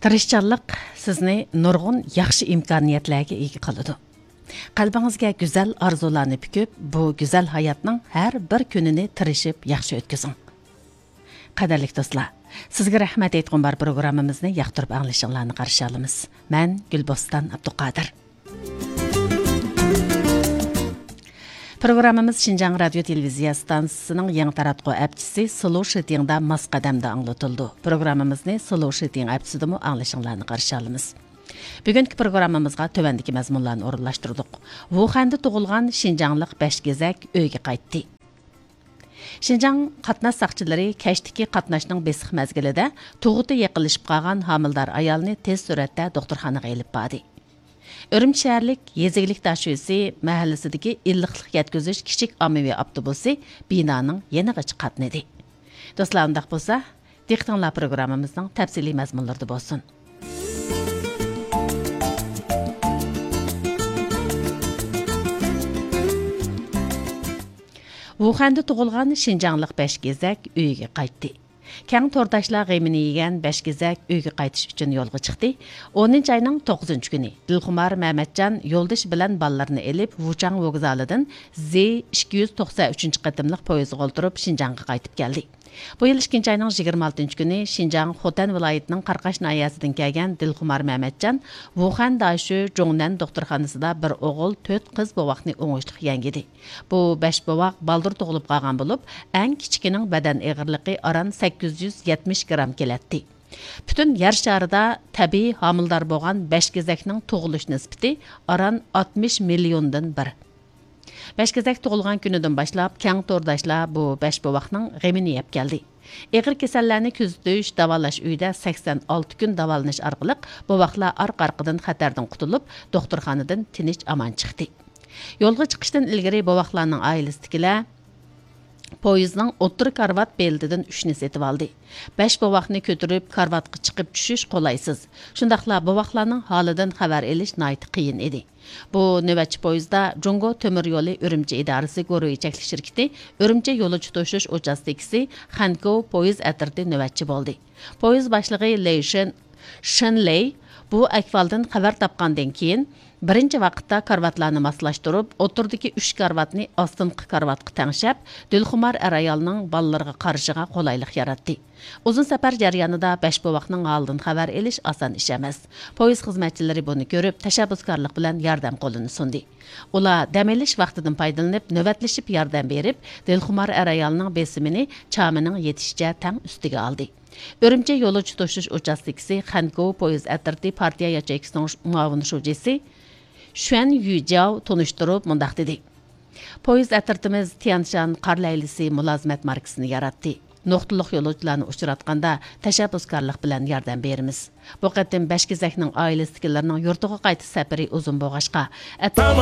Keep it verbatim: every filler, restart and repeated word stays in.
تىرىشچانلىق سىزنى نۇرغۇن ياخشى ئىمكانىيەتلەرگە ئىگە قىلىدۇ. قەلبىڭىزگە گۈزەل ئارزۇلارنى پۈكۈپ، بۇ گۈزەل ھاياتنىڭ ھەر بىر كۈنىنى تىرىشىپ ياخشى ئۆتكۈزۈڭ. قەدىرلىك دوستلار، سىزگە رەھمەت ئېيتقۇم بار پروگراممىمىزنى ياقتۇرۇپ ئاڭلىشىڭلارنى قارشى ئالىمىز. مەن گۈلبوستان ئابدۇقادىر. پروگراممىمىز شىنجاڭ رادىيو تېلېۋىزىيە ئىستانسىسىنىڭ يېڭى تاراتقۇ ئەپچىسى سلو شىتىڭدا ماس قەدەمدە ئاڭلىتىلىدۇ. پروگراممىمىزنى سلو شىتىڭ ئەپچىسىدىمۇ ئاڭلىشىڭلارنى قارشى ئالىمىز. بۈگۈنكى پروگراممىمىزغا تۆۋەندىكى مەزمۇنلارنى ئورۇنلاشتۇردۇق. ۋۇخەندە تۇغۇلغان شىنجاڭلىق بەش گېزەك ئۆيگە قايتتى. شىنجاڭ قاتناش ساقچىلىرى كەچتىكى قاتناشنىڭ بېسىق مەزگىلىدە تۇغۇتى يېقىنلىشىپ قالغان ھامىلىدار ئايالنى تېز سۈرئەتتە دوختۇرخانىغا ئېلىپ باردى. ئۈرۈمچى شەھەرلىك يېزا ئىگىلىك داشۆسى مەھەللىسىدىكى ئىللىقلىق يەتكۈزۈش كىچىك ئاممىۋى ئاپتوبۇسى بىنانىڭ يېنىغىچە قاتنىدى. دوستلار، ئۇنداق بولسا، دىققىتىڭلار پروگراممىمىزنىڭ تەپسىلىي مەزمۇنلىرىدا بولسۇن. ۋۇخەندە تۇغۇلغان شىنجاڭلىق بەش گېزەك ئۆيىگە قايتتى. كەڭ تورداشلار غېمىنى يېگەن بەش گېزەك ئۆيگە قايتىش ئۈچۈن يولغا چىقتى. ئونىنچى ئاينىڭ توققۇزىنچى كۈنى دىلخۇمار مەمەتجان يولدىشى بىلەن بالىلىرىنى ئېلىپ، ۋۇچاڭ ۋوگزالىدىن زې ئىككى يۈز توقسەن ئۈچىنچى قېتىملىق پويىزغا ئولتۇرۇپ، شىنجاڭغا قايتىپ كەلدى. بۇ يىل ئىككىنچى ئاينىڭ يىگىرمە ئالتىنچى كۈنى شىنجاڭ خوتەن ۋىلايىتىنىڭ قاراقاش ناھىيەسىدىن كەلگەن دىلخۇمار مەمەتجان ۋۇخەن داشۆ جۇڭنەن دوختۇرخانىسىدا بىر ئوغۇل، تۆت قىز بوۋاقنى ئوڭۇشلۇق يەڭگىدى. بۇ بەش بوۋاق بالدۇر تۇغۇلۇپ قالغان بولۇپ، ئەڭ كىچىكىنىڭ بەدەن ئېغىرلىقى ئاران سەككىز يۈز يەتمىش گرام كېلەتتى. پۈتۈن يەر شارىدا تەبىئىي ھامىلىدار بولغان بەش گېزەكنىڭ تۇغۇلۇش نىسبىتى ئاران ئاتمىش مىليوندىن بىر. بەش گېزەك تۇغۇلغان كۈنىدىن باشلاپ، كەڭ تورداشلار بۇ بەش بوۋاقنىڭ غېمىنى يەپ كەلدى. ئېغىر كېسەللەرنى كۆزىتىش، داۋالاش ئۆيىدە سەكسەن ئالتە كۈن داۋالىنىش ئارقىلىق، بوۋاقلار ئارقا-ئارقىدىن خەتەردىن قۇتۇلۇپ، دوختۇرخانىدىن تىنچ-ئامان چىقتى. يولغا چىقىشتىن ئىلگىرى بوۋاقلارنىڭ ئائىلىسىدىكىلەر پويىزنىڭ ئوتتۇرا كارىۋات بېلىتىدىن ئۈچنى سېتىۋالدى. بەش بوۋاقنى كۆتۈرۈپ كارىۋاتقا چىقىپ چۈشۈش قولايسىز. شۇنداقلا بوۋاقلارنىڭ ھالىدىن خەۋەر ئېلىش ناھايىتى قىيىن ئىدى. بۇ نۆۋەتچى پويىزدا جۇڭگو تۆمۈر يولى ئۈرۈمچى ئىدارىسى گۇرۇھى چەكلىك شىركىتى ئۈرۈمچى يولۇچى توشۇش ئۇچاستكىسى خەنكوۋ پويىز ئەترىتى نۆۋەتچى بولدى. پويىز باشلىقى لېي شېن، شېن لېي بۇ ئەھۋالدىن خەۋەر تاپقاندىن كېيىن، بىرىنچى ۋاقىتتا كارىۋاتلارنى ماسلاشتۇرۇپ، ئوتتۇرىدىكى ئۈچ كارىۋاتنى ئاستىنقى كارىۋاتقا تەڭشەپ، دىلخۇمار ئەر-ئايالنىڭ بالىلىرىغا قارىشىغا قولايلىق ياراتتى. ئۇزۇن سەپەر جەريانىدا بەش بوۋاقنىڭ ھالىدىن خەۋەر ئېلىش ئاسان ئىش ئەمەس. پويىز خىزمەتچىلىرى بۇنى كۆرۈپ، تەشەببۇسكارلىق بىلەن ياردەم قولىنى سۇندى. ئۇلار دەم ئېلىش ۋاقتىدىن پايدىلىنىپ، نۆۋەتلىشىپ ياردەم بېرىپ، دىلخۇمار ئەر-ئايالنىڭ بېسىمىنى چامىنىڭ يېتىشىچە تەڭ ئۈستىگە ئالدى. ئۈرۈمچى يولۇچى توشۇش ئۇچاستكىسى خەنكوۋ پويىز ئەترىتى پارتىيە ياچېيكىسىنىڭ مۇئاۋىن شۇجىسى شۈەن يۈجياۋ تونۇشتۇرۇپ مۇنداق دېدى: پويىز ئەترىتىمىز تيەنشان قار لەيلىسى مۇلازىمەت ماركىسىنى ياراتتى. نۇقتىلىق يولۇچىلارنى ئۇچراتقاندا تەشەببۇسكارلىق بىلەن ياردەم بېرىمىز. بۇ قېتىم بەش گېزەكنىڭ ئائىلىسىدىكىلەرنىڭ يۇرتىغا قايتىش سەپىرى ئۇزۇن بولغاچقا، ئەتراپ